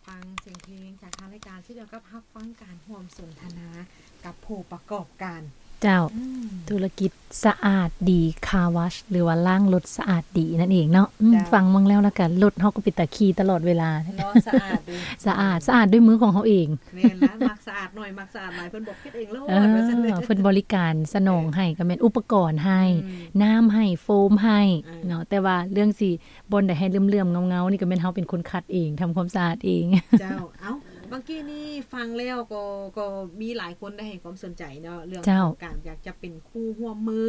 ຟັງສຽງເພງຈາກທາງລາຍການ ເຊັ່ນດຽວກັບຮັບຟັງການຮ່ວມສົນທະນາກັບຜູ້ປະກອບການ. ເຈົ້າ ອືມ ທຸລະກິດສະອາດດີຄາວາຊ ຫຼືວ່າລ້າງລົດສະອາດດີນັ້ນເອງເນາະ. ອືມ ເຈົ້າ ຟັງເບິ່ງແລ້ວ ແລ້ວກໍລົດເຮົາກໍເປັນຕາຂີ່ຕະຫຼອດເວລາເນາະ. ສະອາດເດ້ ສະອາດ ສະອາດດ້ວຍມືຂອງເຮົາເອງ. ແມ່ນລະ ມັກສະອາດໜ້ອຍ ມັກສະອາດຫຼາຍ ເພິ່ນບອກເຮັດເອງໂລດ ເອີ ວ່າຊັ້ນເດີ. ເພິ່ນບໍລິການສະໜອງໃຫ້ ເອີ ກໍແມ່ນອຸປະກອນໃຫ້ ອືມ ນ້ຳໃຫ້ ໂຟມໃຫ້ ເອີ ເນາະ. ແຕ່ວ່າເລື່ອງຊິ ບ່ອນໃດໃຫ້ເຫຼື້ອມໆເງົາໆນີ້ ກໍແມ່ນເຮົາເປັນຄົນຂັດເອງ ທຳຄວາມສະອາດເອງ. ເຈົ້າ ເອົ້າ ບາງກີ້ນີ້ຟັງແລ້ວກໍ ກໍມີຫຼາຍຄົນໄດ້ໃຫ້ຄວາມສົນໃຈເນາະ ເລື່ອງ ເຈົ້າ ຂອງການຢາກຈະເປັນຄູ່ຮ່ວມມື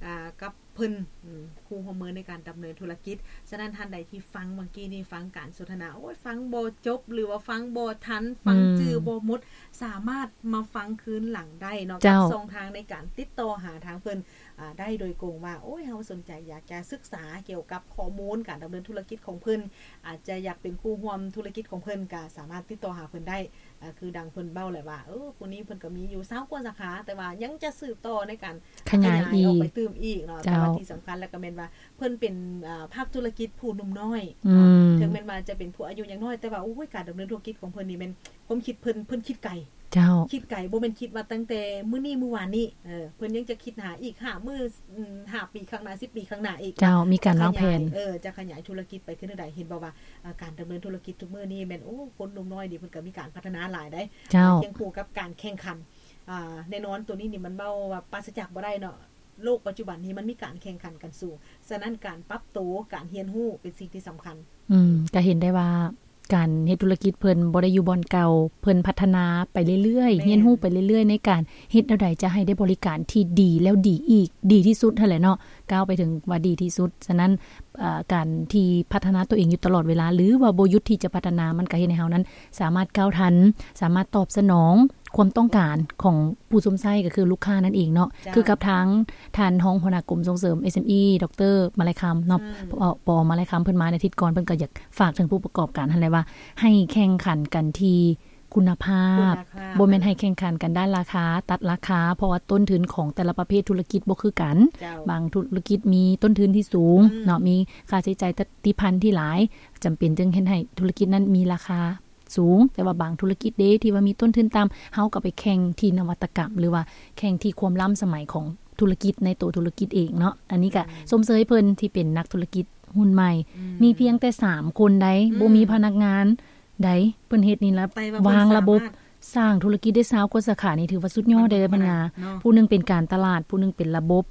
ອ່າ ກັບເພິ່ນ ອືມ ຄູ່ຮ່ວມມືໃນການດຳເນີນທຸລະກິດ. ສະນັ້ນທ່ານໃດທີ່ຟັງບາງກີ້ນີ້ ຟັງການສົນທະນາ ໂອ້ຍ ຟັງບໍ່ຈົບ ຫຼືວ່າຟັງບໍ່ທັນ ຟັງ ອືມ ຈື່ບໍ່ໝົດ ສາມາດມາຟັງຄືນຫຼັງໄດ້ເນາະ ເຈົ້າ ກັບຊ່ອງທາງໃນການຕິດຕໍ່ຫາທາງເພິ່ນ ອ່າ ໄດ້ໂດຍກົງວ່າ ໂອ້ຍ ເຮົາສົນໃຈຢາກຈະສຶກສາກ່ຽວກັບຂໍ້ມູນການດຳເນີນທຸລະກິດຂອງເພິ່ນ ອາດຈະຢາກເປັນຄູ່ຮ່ວມທຸລະກິດຂອງເພິ່ນ ກໍສາມາດຕິດຕໍ່ຫາເພິ່ນໄດ້. ອ່າ ຄືດັ່ງເພິ່ນເວົ້າແຫຼະວ່າ ເອີ ຜູ້ນີ້ເພິ່ນກໍມີຢູ່ຊາວກວ່າສາຂາ ແຕ່ວ່າຍັງຈະສືບຕໍ່ໃນການຂະຫຍາຍ ຂະຫຍາຍອອກໄປຕື່ມອີກເນາະ. ເຈົ້າ ແຕ່ວ່າທີ່ສຳຄັນແລ້ວກໍແມ່ນວ່າ ເພິ່ນເປັນ ອ່າ ພາກທຸລະກິດຜູ້ໜຸ່ມນ້ອຍ ອືມ ເນາະ. ເຖິງແມ່ນວ່າຈະເປັນຜູ້ອາຍຸຍັງນ້ອຍ ແຕ່ວ່າ ໂອ້ຍ ການດຳເນີນທຸລະກິດຂອງເພິ່ນນີ້ແມ່ນ ຄວາມຄິດເພິ່ນ ເພິ່ນຄິດໄກ. ເຈົ້າ ຄິດໄກ ບໍ່ແມ່ນຄິດວ່າຕັ້ງແຕ່ມື້ນີ້ມື້ວານນີ້ ເອີ ເພິ່ນຍັງຈະຄິດຫາອີກຫ້າມື້ ອືມ ຫ້າປີຂ້າງໜ້າ ສິບປີຂ້າງໜ້າອີກ. ເຈົ້າ ມີການວາງແຜນ ຈະຂະຫຍາຍ ເອີ ຈະຂະຫຍາຍທຸລະກິດໄປຄືແນວໃດ. ເຫັນບໍ່ວ່າ ອ່າ ການດຳເນີນທຸລະກິດທຸກມື້ນີ້ແມ່ນ ໂອ້ ຄົນໜຸ່ມນ້ອຍນີ້ເພິ່ນກໍມີການພັດທະນາຫຼາຍເດ້. ເຈົ້າ ຄຽງຄູ່ກັບການແຂ່ງຂັນ ອ່າ ແນ່ນອນ ໂຕນີ້ນີ້ມັນເວົ້າວ່າປາສະຈາກບໍ່ໄດ້ເນາະ. ໂລກປັດຈຸບັນນີ້ມັນມີການແຂ່ງຂັນກັນສູງ ສະນັ້ນການປັບໂຕ ການຮຽນຮູ້ເປັນສິ່ງທີ່ສຳຄັນ. ອືມ ກໍເຫັນໄດ້ວ່າ ການເຮັດທຸລະກິດເພິ່ນບໍ່ໄດ້ຢູ່ບ່ອນເກົ່າ ເພິ່ນພັດທະນາໄປເລື້ອຍໆ ແມ່ນ ຮຽນຮູ້ໄປເລື້ອຍໆ ໃນການເຮັດແນວໃດຈະໃຫ້ໄດ້ບໍລິການທີ່ດີ ແລ້ວດີອີກ ດີທີ່ສຸດຫັ້ນແຫຼະເນາະ ກ້າວໄປເຖິງວ່າດີທີ່ສຸດ. ສະນັ້ນ ເອີ ການທີ່ພັດທະນາຕົວເອງຢູ່ຕະຫຼອດເວລາ ຫຼືວ່າບໍ່ຢຸດທີ່ຈະພັດທະນາ ມັນກໍເຮັດໃຫ້ເຮົານັ້ນສາມາດກ້າວທັນ ສາມາດຕອບສະໜອງຄວາມຕ້ອງການຂອງຜູ້ຊົມໃຊ້ ກໍຄືລູກຄ້ານັ້ນເອງເນາະ. ເຈົ້າ ຄືກັບທາງທ່ານຮອງຫົວໜ້າກົມສົ່ງເສີມ ເອສເອັມອີ ດອກເຕີ ມາໄລຄຳເນາະ ອືມ ປອ ປອ ມາໄລຄຳ ເພິ່ນມາໃນອາທິດກ່ອນ ເພິ່ນກໍຢາກ ຝາກເຖິງຜູ້ປະກອບການຫັ້ນແຫຼະວ່າ ໃຫ້ແຂ່ງຂັນກັນທີ່ຄຸນນະພາບ ຄຸນນະພາບ ບໍ່ແມ່ນໃຫ້ແຂ່ງຂັນກັນດ້ານລາຄາ ຕັດລາຄາ ເພາະວ່າຕົ້ນທຶນຂອງແຕ່ລະປະເພດທຸລະກິດບໍ່ຄືກັນ. ເຈົ້າ ບາງທຸລະກິດມີຕົ້ນທຶນທີ່ສູງ ອືມ ເນາະ ມີຄ່າໃຊ້ຈ່າຍຕິພັນທີ່ຫຼາຍ ຈຳເປັນຈຶ່ງເຮັດໃຫ້ທຸລະກິດນັ້ນມີລາຄາສູງ ແຕ່ວ່າບາງທຸລະກິດເດ້ ທີ່ວ່າມີຕົ້ນທຶນຕ່ຳ ເຮົາກໍໄປແຂ່ງທີ່ນະວັດຕະກຳ ຫຼືວ່າແຂ່ງທີ່ຄວາມລ້ຳສະໄໝຂອງທຸລະກິດໃນໂຕທຸລະກິດເອງເນາະ. ອັນນີ້ກໍ ອືມ ຊົມເຊີຍເພິ່ນທີ່ເປັນນັກທຸລະກິດ ຮຸ່ນໃໝ່ ອືມ ມີພຽງແຕ່ສາມຄົນໃດ໋ ອືມ ບໍ່ມີພະນັກງານໃດ໋ ເພິ່ນເຮັດນີ້ລະ ແຕ່ວ່າເພິ່ນ ວາງລະບົບ ສາມາດສ້າງທຸລະກິດໄດ້ຊາວກວ່າສາຂາ ນີ້ຖືວ່າສຸດຍອດເດ້ ເພິ່ນວ່າເນາະ. ຜູ້ໜຶ່ງເປັນການຕະຫຼາດ ຜູ້ໜຶ່ງເປັນລະບົບ